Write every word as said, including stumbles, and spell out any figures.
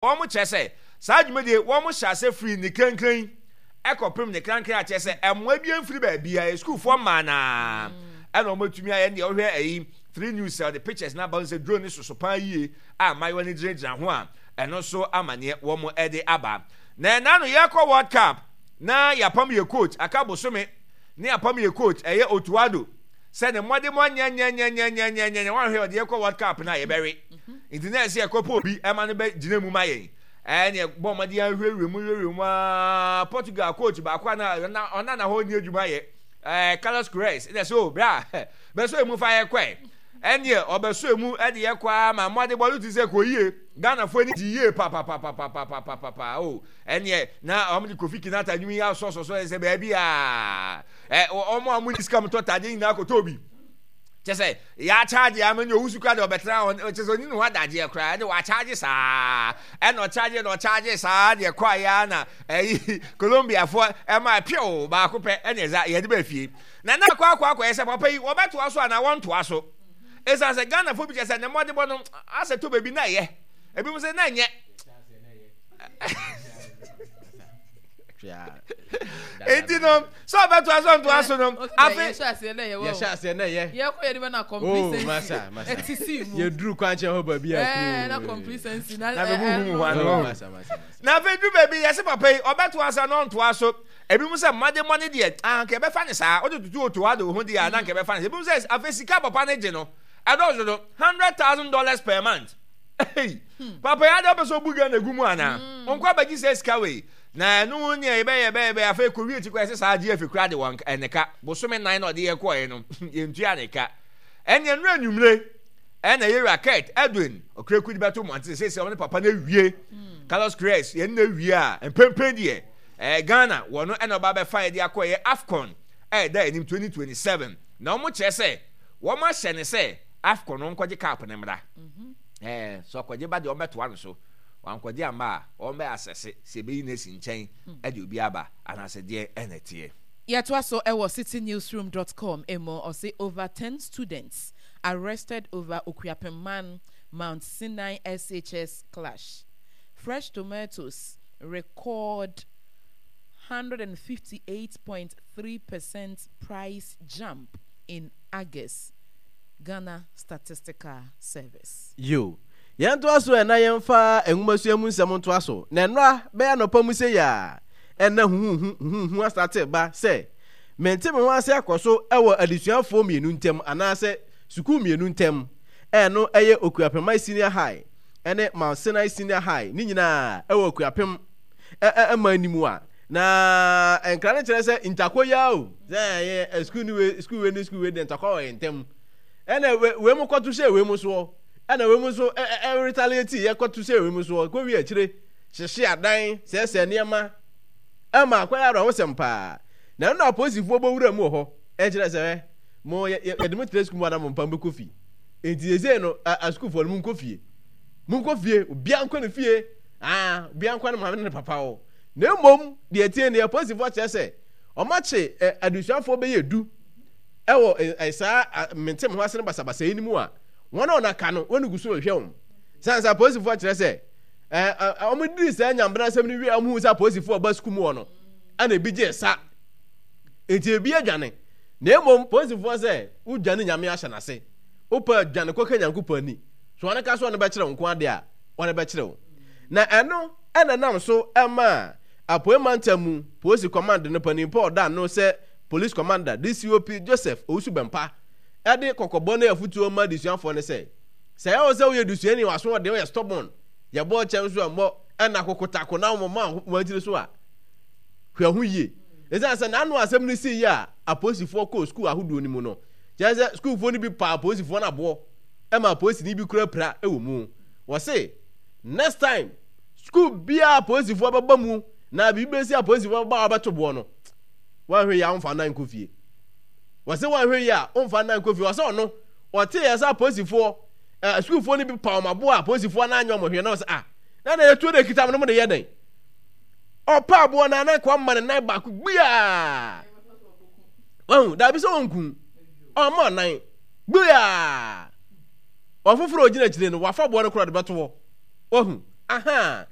Wɔn kyerɛ sɛ saa dwumadie wɔn hyɛ ase firi ne krankran ɛkɔpem ne krankran akyerɛ sɛ ɛmoa bi mfiri baabi a sukuufoɔ mmaa naa ɛna wɔn atumi ayɛ. Deɛ wɔhwɛ ɛyi Three News sɛ ɔde pictures na aba sɛ drone ne soso paa yie a mmaayewa no gyinagyina ho a, ɛno nso amaneɛ wɔn ɛde aba. Na ɛna no yɛkɔ World Cup na yɛapam yɛ coach, aka bosome ne yɛapam yɛ coach, ɛyɛ Otto Addo, sɛ ne mmɔde mo anyɛnyɛnyɛnyɛnyɛnyɛ wɔn ahwɛ ɔde yɛkɔ World Cup na yɛbɛwe, nti na ɛsɛ yɛkɔpɔ obi ɛma no bɛ gyina mu ma yɛn. Ɛne bɔ mmɔden ahwehwɛ mu hwehwɛ mu aa, Portugal coach baako a na ɔna na hɔ ni adwuma yɛ ɛɛ Carlos Queiroz, ɛna sɛ o bra bɛsɔ emu fa yɛ kɔɛ. Ɛneɛ ɔbɛsɔ emu ɛde yɛ kɔ ama mmɔde bɔ no ti sɛ kɔ yie, Ghanafoɔ ani gye yie papapapapapapapa o. Ɛneɛ na wɔn de Kofi Kinata nwom yi asɔsɔsɔ sɛ baabi a ɛ wɔn a wɔn ni sika mu tɔ tadeɛ nyinaa kɔtɔ obi kyɛ sɛ yɛakyagye ama ne Owusu kora de ɔbɛtena hɔ kyɛ sɛ ɔni ne ho adagyeɛ koraa, ɛne wɔakyagye saa, ɛna ɔkyagye na ɔkyagye saa deɛ kɔ ayɛ na ɛyi Colombiafoɔ ɛma pew baako pɛ, ɛne ɛza yɛde bɛ fie na na akɔ akɔ akɔyɛ sɛ papa yi wɔbɛtoa so anaa wɔntoa so, ɛsiane sɛ Ghanafoɔ bi kyɛ sɛ ne mmɔdebɔ no asɛ to baabi na ɛyɛ ebi mo sɛ na ɛnyɛ. Enti no sɛ ɔbɛtoa so ntoa so no, afe yɛhyɛ aseɛ na ɛyɛ yɛhyɛ aseɛ na ɛyɛ yɛkɔ yɛde bɛ na complacency ɛti si mu. Yɛduru kwankyɛn hɔ baabi a ɛɛ na complacency na na bɛ huhu mu hɔ ano ano. Na afei duru baabi yɛsɛ papa yi ɔbɛtoa so na ɔntoa so, ebi mu sɛ mmɔde mmɔne deɛ anka ɛbɛfa ne saa wode tutu Otto Addo ho deɛ a na anka ɛbɛfa ne saa. Ebi mu sɛ afei sika papa ne gye no ɛdɔɔso do hundred thousand dollars per month. Hey, papa yi ade ɔpɛ sɛ ɔbu Ghana gu mu anaa? Ɔnkɔ abɛgye sɛ sika wei na ɛno ho nea yɛbɛyɛ yɛbɛyɛ yɛbɛyɛ. Afei kɔwie akyi kɔ ɛsɛ saa gye afi kora de wɔn ɛne ka bosome nan na ɔde yɛ kɔɛ no yɛntua ne ka. Ɛne ɛno anwummere ɛna yɛwura Kurt Edwin Ɔkuraku de bɛto mmɔnten sɛ sɛ ɔne papa no awie, Carlos Queiroz yɛn no awie a, mpempem deɛ ɛɛ Ghana wɔ no ɛna ɔba bɛfa yɛde akɔ yɛ AFCON ɛda anim twenty twenty-seven, na wɔn kyerɛ sɛ wɔn ahyɛ ne sɛ AFCON no nkɔgye cup ne mmra. Ɛɛ sɛ ɔkɔgye ba deɛ, wɔn bɛtoa no so, wankɔgye amma a, wɔn bɛ asɛse sɛ ebeyi no asi nkyɛn ɛde obi aba anaasɛ deɛ ɛna ɛteɛ. Yɛtoa so ɛwɔ citynewsroom dot com emu. Ɔse over ten students arrested over Okuapemman Mount Sinai S H S clash. Fresh tomatoes record one hundred fifty-eight point three percent price jump in August, Ghana Statistical Service. Yo, yɛntoa so ɛna yɛmfa nwomasua mu nsɛm ntoa so. Na nnora bɛyɛ anɔpa mu sɛ yɛ a ɛna huhuhu huhuhu asate ba sɛ mente me ho ase akɔ so ɛwɔ adesuafoɔ mmienu ntam anaasɛ sukuu mmienu ntam. Ɛno ɛyɛ Okuapemman Senior High ɛne Mount Sinai Senior High, ne nyinaa ɛwɔ Okuapem ɛma anim a na nkra no kyerɛ sɛ ntakɔ yi o, sɛ ɛyɛ sukuu ne wei, sukuu wei ne sukuu wei deɛ, ntakɔ wɔ yɛn ntam. Ɛna wei mu kɔto hyɛ wei mu soɔ, ɛna wei mu nso ɛ retaliate yɛ kɔto hyɛ wei mu soɔ, kɔ wie akyire hyehye adan, sɛɛsɛɛ nneɛma, ɛma akɔyɛ awerɛhosɛm paa. Na ɛno na apolisifoɔ bɔ wura mu wɔ hɔ ɛkyerɛ sɛ ɛ mo yɛ yɛde mo tena sukuu mu anam mpa mbɛkɔ fie. Nti sɛsɛ no asukuufoɔ no, mo nkɔ fie, mo nkɔ fie, obiara nkɔ ne fie, aa obiara nkɔ ne maame ne ne papa hɔ. Na mmom deɛ tie ne apolisifoɔ kyerɛ sɛ ɔmakye ɛ adesuafoɔ bɛyɛ du ɛwɔ ɛ saa mente mo ho ase ne basabasa yi no mu a wɔn a wɔn aka no wɔn gu so rehwɛ wɔn san sɛ apolisifoɔ kyerɛ sɛ ɛɛ wɔn diri saa nyambena asɛm no wie a, wɔn hu sɛ apolisifoɔ ɔba sukuu mu hɔ no ɛna ebi gye sa, nti ebi adwane. Na mmom polisifoɔ sɛ wodwane, Nyame ahyɛ n'ase, wopɛ adwane kɔka Nyankopɔn ani so, wɔn ka so wɔn bɛkyerɛ wo nko adeɛ a wɔn bɛkyerɛ wo. Na ɛno ɛna nam so ɛma Apoe mantam mu polisi command no panin Paul Dan no sɛ Police Commander D C O P Joseph Owusu Bɛmpa ɛde kɔkɔbɔ ne afutuo ma adesuafoɔ no sɛ sɛ ɛwɔ sɛ woyɛ dusuani, waso ɔden, woyɛ stubborn, yɛbɔ kyɛn so ɛmmɔ ɛna kokotako na wɔn ma wɔn akyiri so a, hwɛ ho yie. Ɛsiane sɛ n'ano asɛm no sii yɛ a apolisifoɔ kɔɔ sukuu ahodoɔ no mu no, kyerɛ sɛ sukuufoɔ no bi paa apolisifoɔ no aboɔ ɛma apolisini bi kura pira wɔ mu. Wɔse next time sukuu biara apolisifoɔ bɛba mu na biribi bɛsi, apolisifoɔ bɛba a wɔbɛto boɔ no, wɔanhwɛ yie a wɔmfa nan nkɔ fie. Wɔse wɔanhwɛ yie a wɔmfa nan nkɔ fie. Wɔse ɔno ɔte yɛ sɛ apolisifoɔ ɛɛ sukuufoɔ no bi pa wɔn aboɔ a apolisifoɔ no anyɛ wɔn hwee, na wɔsɛ ah, na na yɛtuo de kita mo no mo de yɛ dɛn? Ɔpa aboɔ no anan kɔ ama ne nan baako gbiaa, wahu daabi sɛ ɔnku ɔma nan gbiaa, ɔfoforɔ ogyina akyire no wafa boɔ no korɔ de bɛto hɔ, wahu Aha.